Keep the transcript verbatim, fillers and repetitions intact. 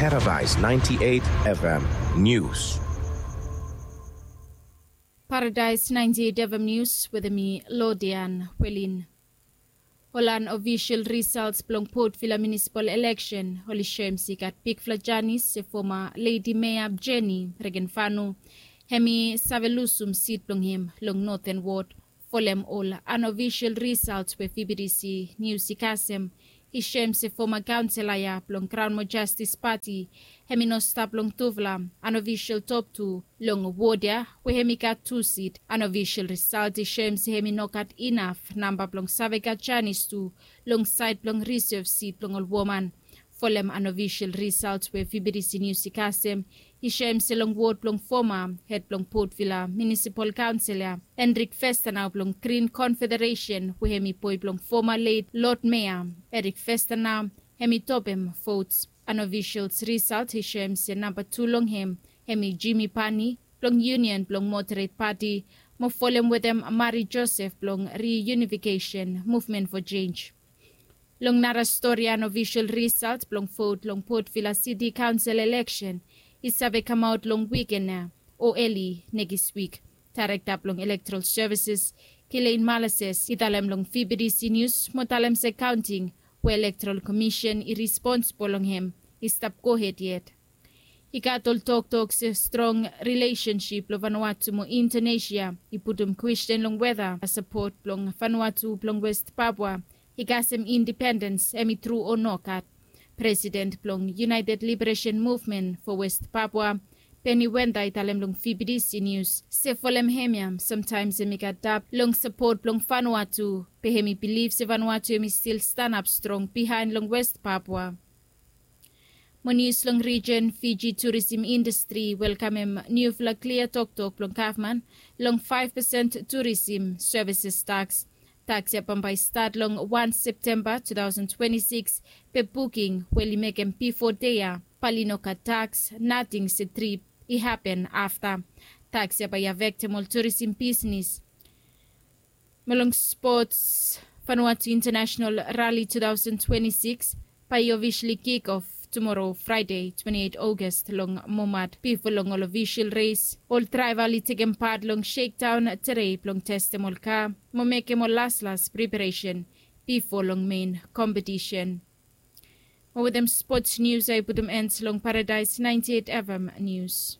Paradise ninety-eight F M News. Paradise ninety-eight F M News wetem mi, Lodian Welin. Ol anofisol risalt blong Port Vila munisipal eleksen oli soem se i gat bigfala janis se foma Ledi Mea Jenny Regenfanu hemi save lusum sit blong hem long Noten Wod. Folem ol anofisol risalt we V B D C Nius i kasem, i soem se foma kaonsela ya blong Kraon mo Jastis Pati hemi no stap long tufala anofisol top tu long wod ya we hemi gat tu sit. Anofisol risalt i soem se hemi no gat inaf namba blong save gat janis tu long saed blong risev sit blong ol woman. Folem anofisol risalt we V B D C Nius i kasem, i soem se long wod blong foma hed blong Port Vila munisipal kaonsel ya, Enrik Festanau blong Grin Konfederesen we hemi boe blong foma leit Lod Mea Erik Festanau, hemi topem vots. Anofisol risalt i soem se namba tu long hem hemi Jimi Pani blong Union blong Moderet Pati, mo folem wetem Mari Josef blong Riunifikesen Muvmen fo Jenj. Long nara stori, anofisol risalt blong vot long Port Vila Siti Kaonsel eleksen i save kamaot long wiken ya o eli nekis wik. Daerekta blong Elektoral Sevises, Kilein Malases, i talem long V B D C Nius mo talem se kaonting we Elektoral Komisen i responsibol long hem i stap gohed yet. I gat ol toktok se strong rilesensip blong Vanuatu mo Indonesia i putum kwesten long weta sapot blong Vanuatu blong West Papua i kasem indipendens hemi tru o nogat. Presiden blong United Liberation Movement fo West Papua, Benny Wenda, i talem long V B D C Nius se folem hemia samtaems hemi gat dap long sapot blong Vanuatu, be hemi bilif se Vanuatu hemi stil stanap strong bihaen long West Papua. Mo nius long rijen, Fiji turisim indastri i welkamem niufala klia toktok blong gavman long faef pesen turisim sevises taks. Taks ya bambae i stat long wan Septemba two thousand twenty-six, be buking we oli mekem bifo dei ya bae oli no gat taks nating se trip i hapen afta. Taks ya bae i afektem ol turisim bisnis. Mo long spots, Vanuatu International Rally two thousand twenty-six bae i ofisali kik of tumoro, Fraede twenty-eight August, long Momad. Bifo long ol ofisal res, ol draeva oli tekem pat long shekdaon tedei blong testem ol ka mo mekem ol laslas preparesen bifo long mein kompetisen. Mo wetem spots nius ya i putum en long Paradise ninety-eight F M Nius.